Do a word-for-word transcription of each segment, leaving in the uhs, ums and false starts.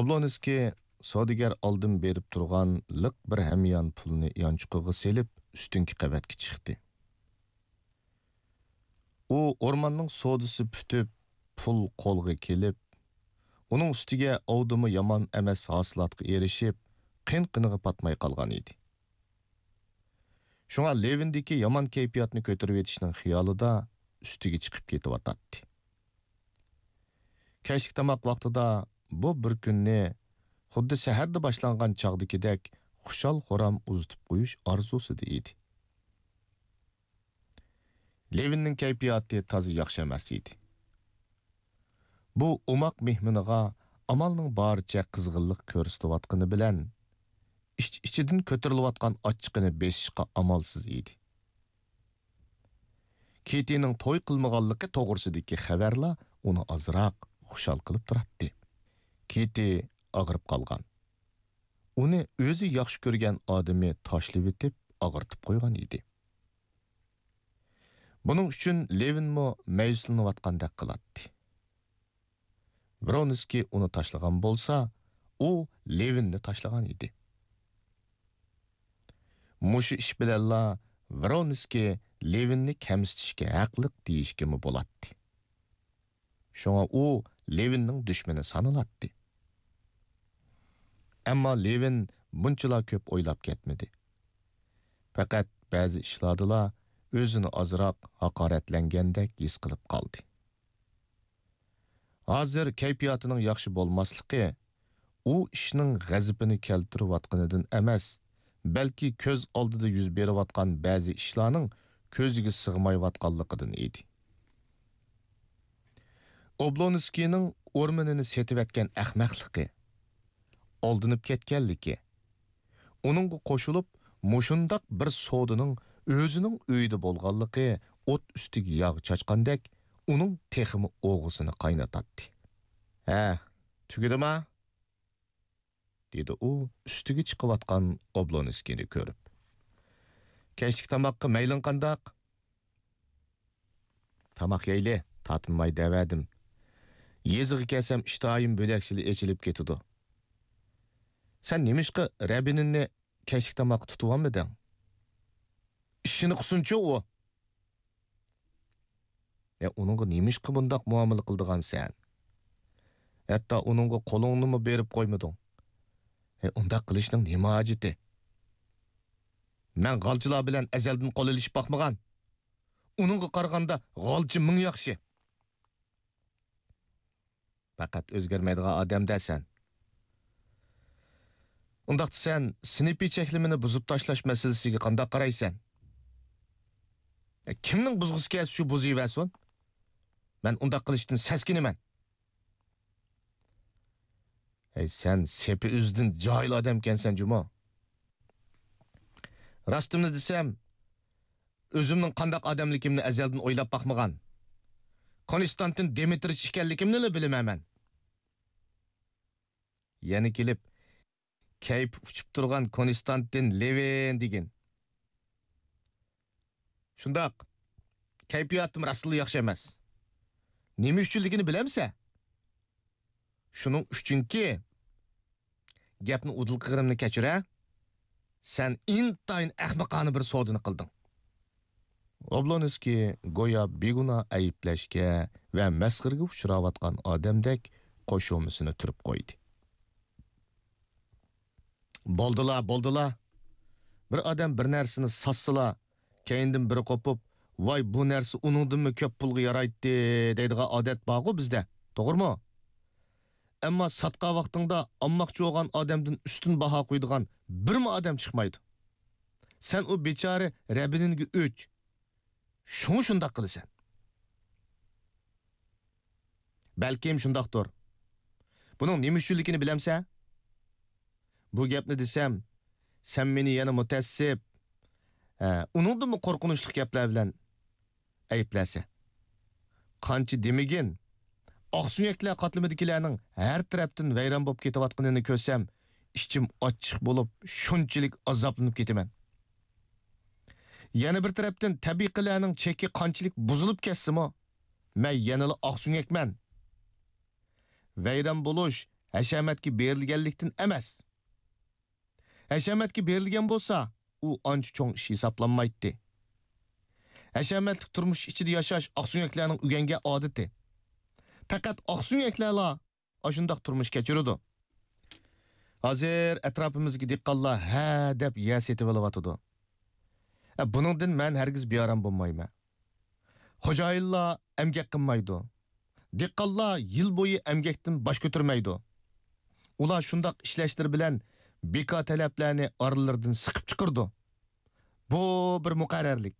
ئوبلونسكىي سودىگەر ئالدىن بېرىپ تۇرغان لىق بىر ھەميان پۇلنى يانچۇقىغا سېلىپ، ئۈستۈنكى قەۋەتكە چىقتى. ئۇ ئورماننىڭ سودىسى پۈتۈپ، پۇل قولغا كېلىپ، ئۇنىڭ ئۈستىگە ئاۋدىمۇ يامان ئەمەس ھاسىلاتقا ئېرىشىپ، قىن-قىنىغا پاتماي قالغان ئىدى. شۇڭا لېۋىندىكى يامان كەيپىياتنى كۆتۈرۈۋېتىشنىڭ خىيالىدا ئۈستىگە چىقىپ كېتىۋاتاتتى. كەچلىك تاماق ۋاقتىدا بۇ بىر كۈننى خۇددى سەھەردە باشلانغان چاغدىكىدەك خۇشال-خۇرام ئۇزىتىپ قويۇش ئارزۇسىدا ئىدى. لېۋىننىڭ كەيپىياتى تازا ياخشى ئەمەس ئىدى. بۇ ئوماق مېھمىنىغا ئامالنىڭ بارىچە قىزغىنلىق كۆرسىتىۋاتقىنى بىلەن، ئىچ-ئىچىدىن كۆتۈرۈلۈۋاتقان ئاچچىقىنى بېسىشقا ئامالسىز ئىدى. كىتىنىڭ توي قىلمىغانلىقى توغرىسىدىكى خەۋەرلا ئۇنى ئازراق خۇشال قىلىپ تۇراتتى. كىتى ئاغرىپ قالغان. ئۇنى ئۆزى ياخشى كۆرگەن ئادىمى تاشلىۋېتىپ ئاغرىتىپ قويغان ئىدى. بۇنىڭ ئۈچۈن لېۋىنمۇ مەيۈسلىنىۋاتقاندەك قىلاتتى. ۋرونسكىي ئۇنى تاشلىغان بولسا، ئۇ لېۋىننى تاشلىغان ئىدى. مۇشۇ ئىش بىلەنلا ۋرونسكىي لېۋىننى كەمسىتىشكە ھەقلىق دېيىشكىمۇ بولاتتى. شۇڭا ئۇ لېۋىننىڭ دۈشمىنى سانىلاتتى. ئەمما لېۋىن بۇنچىلا كۆپ ئويلاپ كەتمىدى. پەقەت بەزى ئىشلاردىلا ئۆزىنى ئازراق ھاقارەتلەنگەندەك ھېس قىلىپ قالدى. ھازىر كەيپىياتىنىڭ ياخشى بولماسلىقى ئۇ ئىشنىڭ غەزىپىنى كەلتۈرۈۋاتقىنىدىن ئەمەس، بەلكى كۆز ئالدىدا يۈز بېرىۋاتقان بەزى ئىشلارنىڭ كۆزىگە سىغمايۋاتقانلىقىدىن ئىدى. ئوبلونسكىينىڭ ئورمىنىنى سېتىۋەتكەن ئەخمەقلىقى، ئالدىنىپ كەتكەنلىكى، ئۇنىڭغا قوشۇلۇپ، مۇشۇنداق بىر سودىنىڭ ئۆزىنىڭ ئۆيىدە بولغانلىقى ئوت ئۈستىگە ياغ چاچقاندەك ئۇنىڭ تېخىمۇ ئوغىسىنى قاينىتاتتى. ھە، تۈگىدىما؟ دېدى ئۇ ئۈستىگە چىقىۋاتقان ئوبلونسكىينى كۆرۈپ. كەچلىك تاماققا مەيلىڭ قانداق؟ تاماق يەيلى، تارتىنماي دەۋەردىم. يېزىغا كەلسەم ئىشتىھايىم بۆلەكچىلا ئېچىلىپ كېتىدۇ. سەن نېمىشقا رەبىنىننى كەچلىك تاماققا تۇتۇۋالمىدىڭ؟ ئىشىنى قىلسۇنچۇ ئۇ. ئە، ئۇنىڭغا نېمىشقا بۇنداق مۇئامىلە قىلىدىغانسەن؟ ھەتتا ئۇنىڭغا قولۇڭنىمۇ بېرىپ قويمىدىڭ. ئە، ئۇنداق قىلىشنىڭ نېمە ھاجىتى؟ مەن غالچىلار بىلەن ئەزەلدىن قول ئېلىشىپ باقمىغان. ئۇنىڭغا قارىغاندا غالچى مىڭ ياخشى. پەقەت ئۆزگەرمەيدىغان ئادەم-دە سەن. ئۇنداقتا سەن سىنىپىي چەكلىمىنى بۇزۇپ تاشلاش مەسىلىسىگە قانداق قارايسەن؟ ئە، كىمنىڭ بۇزغۇسى كەلسە شۇ بۇزۇۋەرسۇن. مەن ئۇنداق قىلىشتىن سەسكىنىمەن. ھەي، سەن سېپى ئۆزىدىن جاھىل ئادەمكەنسەن جۇمۇ. راستىمنى دېسەم، ئۆزۈمنىڭ قانداق ئادەملىكىمنى ئەزەلدىن ئويلاپ باقمىغان. كونستانتىن دىمىترىچ ئىكەنلىكىمنىلا بىلىمەن مەن. يەنە كېلىپ، كەيپى ئۇچۇپ تۇرغان كونستانتىن لېۋىن دېگىن. شۇنداق، كەيپىياتىم راستلا ياخشى ئەمەس. نېمە ئۈچۈنلۈكىنى بىلەمسەن؟ شۇنىڭ ئۈچۈنكى، گەپنى ئۇدۇل قىلغىنىمنى كەچۈر ھە، سەن ئىنتايىن ئەخمىقانە بىر سودىنى قىلدىڭ. ئوبلونسكىي گويا بىگۇناھ ئەيىبلەشكە ۋە مەسخىرىگە ئۇچراۋاتقان ئادەمدەك قوشۇمىسىنى تۈرۈپ قويدى. بولدىلا، بولدىلا. بىر ئادەم بىر نەرسىنى ساتسىلا، كەينىدىن بىرى قوپۇپ، ۋاي، بۇ نەرسە ئۇنىڭدىنمۇ كۆپ پۇلغا يارايتتى دەيدىغان ئادەت بارغۇ بىزدە، توغرىمۇ؟ ئەمما ساتقان ۋاقتىڭدا ئالماقچى بولغان ئادەمدىن ئۈستۈن باھا قويىدىغان بىرمۇ ئادەم چىقمايدۇ. سەن ئۇ بىچارە رەبىنىنگە ئۆچ. شۇڭا شۇنداق قىلىسەن. بەلكىم شۇنداقتۇر. بۇنىڭ نېمە ئۈچۈنلۈكىنى بىلەمسەن؟ بۇ گەپنى دېسەم، سەن مېنى يەنە مۇتەئەسسىپ، ھە، ئۇنىڭدىنمۇ قورقۇنچلۇق گەپلەر بىلەن ئەيىبلەرسەن. قانچە دېمىگىن، ئاقسۆڭەكلەر قاتلىمىدىكىلەرنىڭ ھەر تەرەپتىن ۋەيران بولۇپ كېتىۋاتقىنىنى كۆرسەم، ئىچىم ئاچچىق بولۇپ، شۇنچىلىك ئازابلىنىپ كېتىمەن. يەنە بىر تەرەپتىن، تەبىقىلەرنىڭ چېكى قانچىلىك بۇزۇلۇپ كەتسىمۇ، مەن يەنىلا ئاقسۆڭەكمەن. ۋەيران بولۇش ھەشەمەتكە بېرىلگەنلىكتىن ئەمەس. ھەشەمەتكە بېرىلگەن بولسا، ئۇ ئانچە چوڭ ئىش ھېسابلانمايتتى. ھەشەمەتلىك تۇرمۇش ئىچىدە ياشاش ئاقسۆڭەكلەرنىڭ ئۆگەنگەن ئادىتى. پەقەت ئاقسۆڭەكلەرلا ئاشۇنداق تۇرمۇش كەچۈرىدۇ. ھازىر ئەتراپىمىزدىكى دېھقانلار ھە دەپ يەر سېتىۋېلىۋاتىدۇ. ئە، بۇنىڭدىن مەن ھەرگىز بىئارام بولمايمەن. خوجايىنلار ئەمگەك قىلمايدۇ. دېھقانلار يىل بويى ئەمگەكتىن باش كۆتۈرمەيدۇ. ئۇلار شۇنداق ئىشلەشلىرى بىلەن بىكار تەلەپلەرنى ئارىلىرىدىن سىقىپ چىقىرىدۇ. بۇ بىر مۇقەررەرلىك.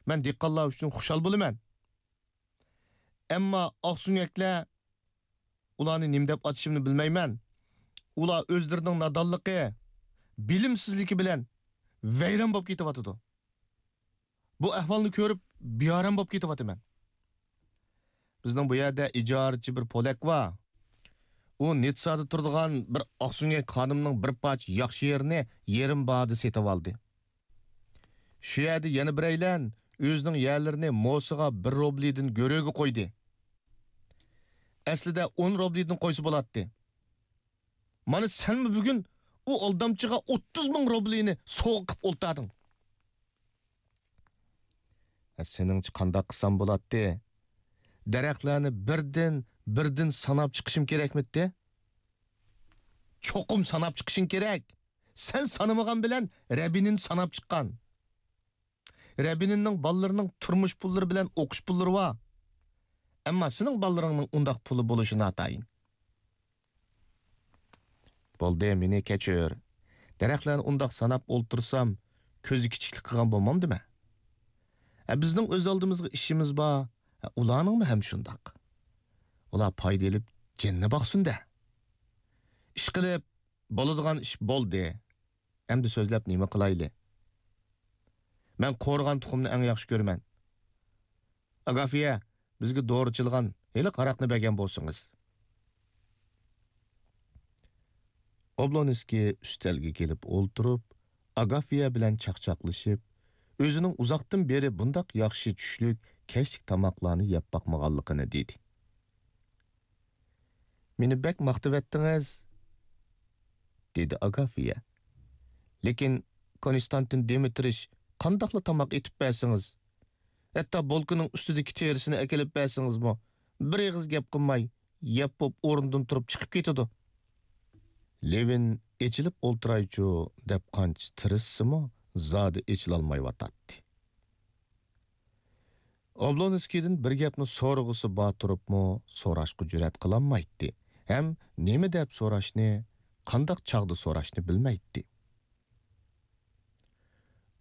مەن دېھقانلار ئۈچۈن خۇشال بولىمەن. ئەمما ئاقسۆڭەكلەر، ئۇلارنى نېمە دەپ ئاتىشىمنى بىلمەيمەن. ئۇلار ئۆزلىرىنىڭ نادانلىقى، بىلىمسىزلىكى بىلەن ۋەيران بولۇپ كېتىۋاتىدۇ. بۇ ئەھۋالنى كۆرۈپ، بىئارام بولۇپ كېتىۋاتىمەن. بىزنىڭ بۇ يەردە ئىجارىچى بىر پولەك بار. ئۇ نىتسادا تۇرىدىغان بىر ئاقسۆڭەك خانىمنىڭ بىر پارچە ياخشى يېرىنى يېرىم باھادا سېتىۋالدى. شۇ يەردە يەنە بىرەيلەن ئۆزىنىڭ يەرلىرىنى موسىغا بىر روبلىدىن گۆرۈگە قويدى. ئەسلىدە ئون روبلىدىن قويسا بولاتتى. مانا سەنمۇ بۈگۈن ئۇ ئالدامچىغا ئوتتۇز مىڭ روبلىنى سوۋغا قىپ ئولتۇردۇڭ. ھە، سېنىڭچە قانداق قىلسام بولاتتى؟ دەرەخلەرنى بىردىن، بىردىن ساناپ چىقىشىم كېرەكمىتتى؟ چوقۇم ساناپ چىقىشىڭ كېرەك. سەن سانىمىغان بىلەن رەبىنىن ساناپ چىققان. رەبىنىننىڭ بالىلىرىنىڭ تۇرمۇش پۇللىرى بىلەن ئوقۇش پۇللىرى بار. ئەمما سېنىڭ بالىلىرىڭنىڭ ئۇنداق پۇلى بولۇشى ناتايىن. بولدى، مېنى كەچۈر. دەرەخلەرنى ئۇنداق ساناپ ئولتۇرسام، كۆزى كىچىكلىك قىلغان بولمامدىمەن؟ ھە، بىزنىڭ ئۆز ئالدىمىزغا ئىشىمىز بار. ھە، ئۇلارنىڭمۇ ھەم شۇنداق. ئۇلار پايدا ئېلىپ جېنىنى باقسۇن-دە. ئىشقىلىپ، بولىدىغان ئىش بولدى. ئەمدى سۆزلەپ نېمە قىلايلى؟ مەن قورۇغان تۇخۇمنى ئەڭ ياخشى كۆرىمەن. ئاگافىيە، بىزگە دورا چىلىغان ھېلىقى ھاراقنى بەرگەن بولسىڭىز. ئوبلونسكىي ئۈستەلگە كېلىپ ئولتۇرۇپ، ئاگافىيە بىلەن چاقچاقلىشىپ، ئۆزىنىڭ ئۇزاقتىن بېرى بۇنداق ياخشى چۈشلۈك، كەچلىك تاماقلارنى يەپ باقمىغانلىقىنى دېدى. مېنى بەك ماختىۋەتتىڭىز، دېدى ئاگافىيە. لېكىن، كونستانتىن دىمىترىچ، قانداقلا تاماق ئېتىپ بەرسىڭىز، ھەتتا بولكىنىڭ ئۈستىدىكى تېرىسىنى ئەكېلىپ بەرسىڭىزمۇ، بىر ئېغىز گەپ قىلماي، يەپ بوپ ئورنىدىن تۇرۇپ چىقىپ كېتىدۇ. لېۋىن ئېچىلىپ ئولتۇرايچۇ دەپ قانچە تىرىشسىمۇ، زادى ئېچىلالمايۋاتاتتى. ئوبلونسكىيدىن بىر گەپنى سورىغۇسى بار تۇرۇپمۇ، سوراشقا جۈرئەت قىلالمايتتى ھەم نېمە دەپ سوراشنى، قانداق چاغدا سوراشنى بىلمەيتتى.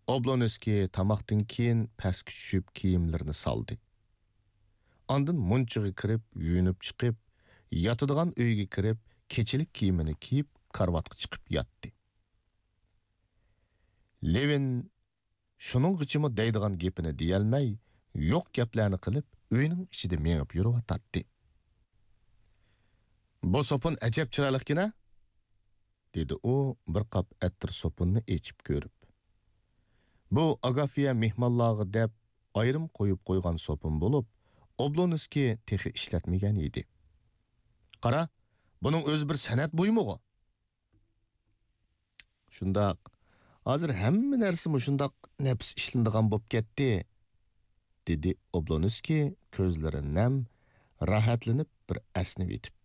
ئوبلونسكىي تاماقتىن كېيىن پەسكە چۈشۈپ كىيىملىرىنى سالدى. ئاندىن مۇنچىغا كىرىپ، يۇيۇنۇپ چىقىپ، ياتىدىغان ئۆيگە كىرىپ، كېچىلىك كىيىمىنى كىيىپ، كارىۋاتقا چىقىپ ياتتى. لېۋىن شۇنىڭغىچىمۇ دەيدىغان گېپىنى دېيەلمەي، يوق گەپلەرنى قىلىپ، ئۆينىڭ ئىچىدە مېڭىپ يۈرۈۋاتاتتى. بۇ سوپۇن ئەجەب چىرايلىقكەن-ھە؟ دېدى ئۇ بىر قاپ ئەتىر سوپۇننى ئېچىپ كۆرۈپ. بۇ ئاگافىيە مېھمانلارغا دەپ ئايرىم قويۇپ قويغان سوپۇن بولۇپ، ئوبلونسكىي تېخى ئىشلەتمىگەن ئىدى. قارا، بۇنىڭ ئۆزى بىر سەنئەت بۇيۇمىغۇ. شۇنداق. ھازىر ھەممە نەرسە مۇشۇنداق نەپىس ئىشلىنىدىغان بولۇپ كەتتى، دېدى ئوبلونسكىي كۆزلىرى نەم، راھەتلىنىپ بىر ئەسنىۋېتىپ.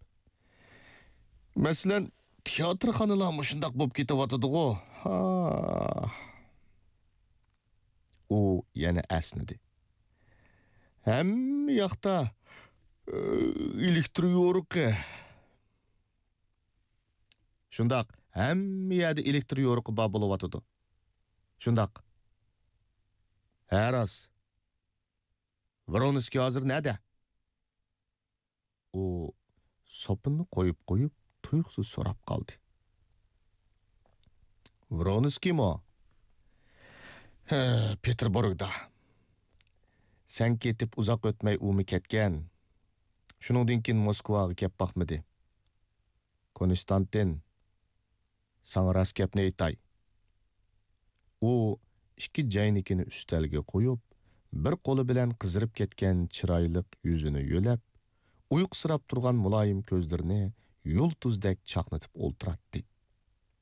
مەسىلەن، تىياتىرخانىلار مۇشۇنداق بولۇپ كېتىۋاتىدىغۇ. ھا. ئۇ يەنە ئەسنىدى. ھەممە ياقتا، ئۆ، ئېلېكتر يورۇقى. شۇنداق، ھەممە يەردە ئېلېكتر يورۇقى بار بولۇۋاتىدۇ. شۇنداق. ھە، راست. ۋرونسكىي ھازىر نەدە؟ ئۇ سوپۇننى قويۇپ قويۇپ، تۇيۇقسىز سوراپ قالدى. ۋرونسكىيمۇ؟ ھە، پېتېربۇرگدا. سەن كېتىپ ئۇزاق ئۆتمەي ئۇمۇ كەتكەن. شۇنىڭدىن كېيىن موسكۋاغا كەپ باقمىدى. كونستانتىن، ساڭا راست گەپنى ئېيتاي. ئۇ ئىككى جەينىكىنى ئۈستەلگە قويۇپ، بىر قولى بىلەن قىزىرىپ كەتكەن چىرايلىق يۈزىنى يۆلەپ، ئۇيقۇسىراپ تۇرغان مۇلايىم كۆزلىرىنى يۇلتۇزدەك چاقنىتىپ ئولتۇراتتى.